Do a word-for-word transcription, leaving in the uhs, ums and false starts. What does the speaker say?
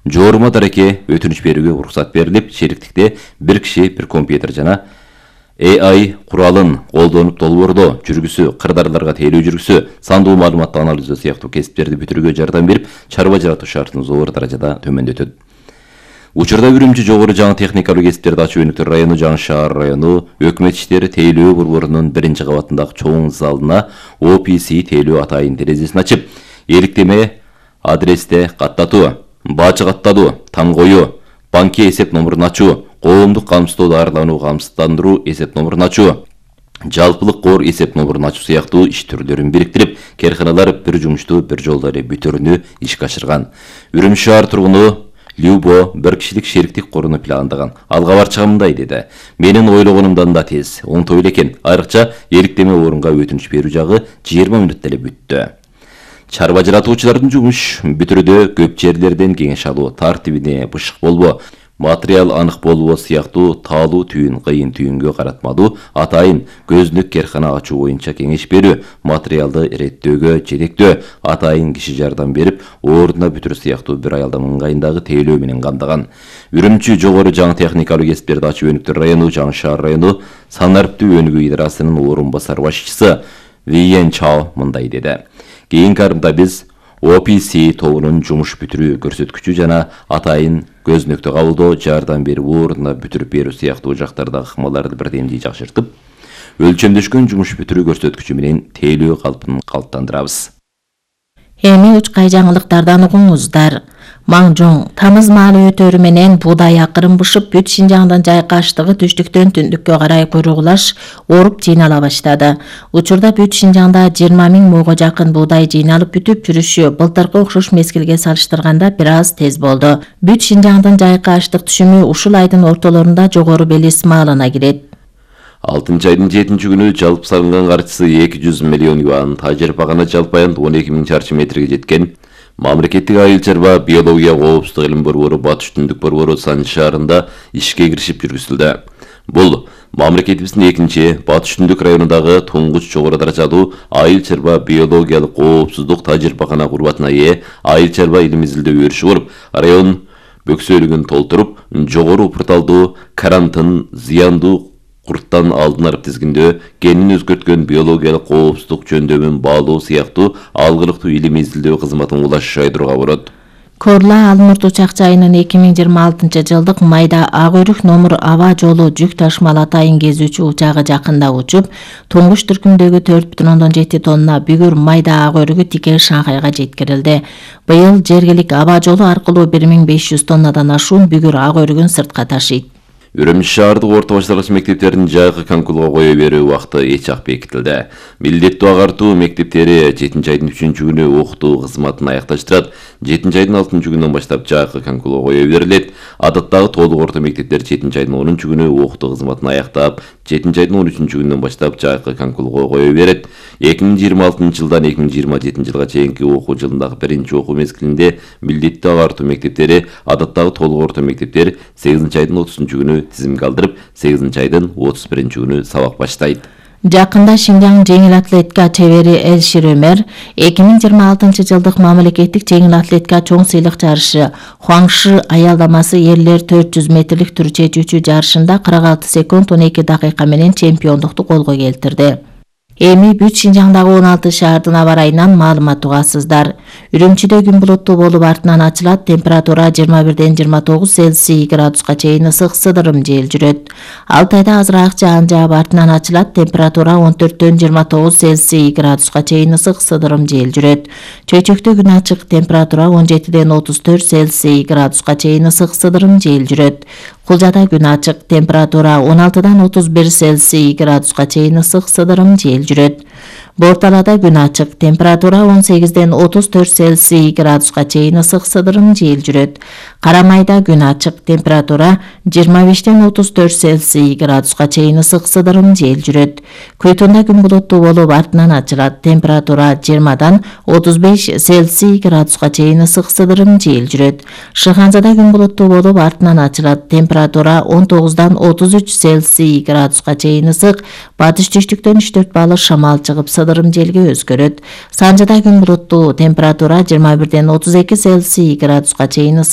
Жогору дареке өтүнүч берүүгө уруксат берилип, шериктикте бир киши, бир компьютер жана A I куралын колдонуп долбоордоо, жүргүсү, кырдаарларга тейлөө жүргүсү, сандуу маалыматты анализдөө сыяктуу кесиптерди бүтүрүүгө жардам берип, чарба жаратуу шартын зор даражада төмөндөтөт. Учурда Үрүмчү жогору жаңы техникалык кесиптерди ачуу өнүктөр району, Жаңы шаар району өкмөт иштери тейлөө борборунун биринчи кабатындагы чоң залына O P C тейлөө атайын терезесин ачып, эриктеме адресте каттатуу, баачы каттатуу, там коюу, банки эсеп номурун ачуу, коомдук камсыздоо даарылануу камсыздандыруу эсеп номурун ачуу, жалпылык кор эсеп номурун ачуу сыяктуу иш түрлөрүн бириктирип, керканалар бир жумушту бир жолдо эле бүтүрүүнү ишке ашырган. Үрүмчү шаар тургуну Любо бир кишилик шериктик коруну пландаган. Алга барчыга мындай деди: "Менин ойлогонумдан да тез, оңтой эле экен. Айрыкча эриктеме орунга өтүнүч берүү жагы жыйырма мүнөттө эле бүттү." Чарба жаратуучулардын жумуш бүтүрүүдө көп жерлерден кеңеш алуу, тартибине бышык болбо, материал анык болбоо сыяктуу таалуу түйүн кыйын түйүнгө каратмадуу, атайын көзүнүк керкана ачуу боюнча кеңеш берүү, материалды иреттөөгө жетектөө, атайын киши жардам берип, ордуна бүтүрүү сыяктуу бир аялдын ыңгайындагы тейлөө менен камдаган. Үрүмчү жогору жаңы техникалык кесиптерди ачуу өнүктөр району, Жаңы шаар району санариптүү өнүгүү идарасынын орун басар башчысы Виен Чао мындай деди: "Кийинки арымда биз O P C тобунун жумуш бүтүрүү көрсөткүчү жана атайын көзүнөктү кабылдоо, жардам берүү, ордуна бүтүрүп берүү сыяктуу жактардагы ыкмаларды бирдемдей жакшыртып, өлчөмдөшкөн жумуш бүтүрүү көрсөткүчү менен тейлөө калпын калыптандырабыз." Эми учкай жаңылыктардан угуңуздар. Маңжоң тамыз маалы өтөрү менен буудай акырын бышып, бүт Шинжаңдын жайкаштыгы түштүктөн түндүккө карай куйругулаш оруп жыйнала баштады. Учурда бүт Шинжаңда жыйырма миң муга жакын буудай жыйналып бүтүп жүрүшү былтыркы окшош мезгилге салыштырганда бир аз тез болду. Бүт Шинжаңдын жайкаштык түшүмү ушул айдын ортолорунда жогору белес маалына кирет. алтынчы айдын жетинчи күнү жалпы салынган каржысы эки жүз миллион юан, тажер багана жалпы аянт он эки миң чарчы метрге жеткен. Мамлекеттик айыл чарба биология коопсуздук илим борбору Батыш Түндүк борбору Санжы шаарында ишке киришип жүргүзүлдү. Бул мамлекетибиздин экинчи Батыш Түндүк районундагы туңгуч жогору даражалуу айыл чарба биологиялык коопсуздук тажрыйбакана курбатына ээ айыл чарба илим изилдөө өрүшү болуп, район бөксөлүгүн толтуруп, жогору упурталдуу карантын зыяндуу курттан алдын алып тизгиндөө, генин өзгөрткөн биологиялык коопсуздук жөндөмүн баалоо сыяктуу алгылыктуу илим изилдөө кызматын улаш айдырууга болот. Корла Алмурт учак жайынын эки миң жыйырма алтынчы жылдык майда ак өйрүк номур аба жолу жүк ташмал атайын кезүүчү учагы жакында учуп, туңгуч түркүмдөгү төрт бүтүн ондон жети тонна бүгүр майда ак өйрүгү тике Шанхайга жеткирилди. Быйыл жергилик аба жолу аркылуу бир миң беш жүз тоннадан ашуун бүгүр ак өйрүгүн сыртка ташыйт. Үрүмчү шаардык орто башталгыч мектептердин жайкы канкулга кое берүү убакыты эч ак бекитилди. Милдеттүү агартуу мектептери жетинчи айдын үчүнчү күнү окутуу кызматын аякташтырат. жетинчи айдын алтынчы күнүнөн баштап жайкы канкулга кое берилет. Адаттагы толук орто мектептер жетинчи айдын онунчу күнү окутуу кызматын аяктап, жетинчи айдын он үчүнчү күнүнөн баштап жайкы канкулга кое берет. эки миң жыйырма алтынчы жылдан эки миң жыйырма жетинчи жылга чейинки окуу жылындагы биринчи окуу мезгилинде милдеттүү агартуу мектептери, адаттагы толук орто мектептер сегизинчи айдын отузунчу күнү тизимге алдырып, сегизинчи айдын отуз биринчи күнү сабак баштайт. Жакында Шинжаң жеңил атлетика чебери Элшир Өмөр эки миң жыйырма алтынчы жылдык мамлекеттик жеңил атлетика чоң сыйлык жарышы Хуаңши аялдамасы эрлер төрт жүз метрлик түр чечүүчү жарышында кырк алты секунд он эки дакыйка менен чемпиондукту колго келтирди. Эми бүт Шинжаңдагы он алты шаардын аба ырайынан маалымат угасыздар. Үрүмчүдө күн булуттуу болуп артынан ачылат, температура жыйырма бирден жыйырма тогуз Цельсий градуска чейин ысык сыдырым жел жүрөт. Алтайда азыраак жаан жаап артынан ачылат, температура он төрттөн жыйырма тогуз Цельсий градуска чейин ысык сыдырым жел жүрөт. Чөйчөктө күн ачык, температура он жетиден отуз төрт Цельсий градуска чейин ысык сыдырым жел жүрөт. Кулжада күн ачык, температура он алтыдан отуз бир Цельсий градуска чейин ысык сыдырым жел жүрөт. Борталада күн ачык, температура он сегизден отуз төрт Цельсий градуска чейин ысык сыдырым жел жүрөт. Карамайда күн ачык, температура жыйырма бештен отуз төрт Цельсий градуска чейин ысык сыдырым жел жүрөт. Көйтүндө күн булуттуу болуп артынан ачылат, температура жыйырмадан отуз беш Цельсий градуска чейин ысык сыдырым жел жүрөт. Шыханзада күн булуттуу болуп артынан ачылат, температура он тогуздан отуз үч Цельсий градуска чейин ысык, батыш түштүктөн үч төрт балык шамал чыгып сыдырым желге өзгөрөт. Санжыда күн булуттуу, температура жыйырма бирден отуз эки Цельсий градуска чейин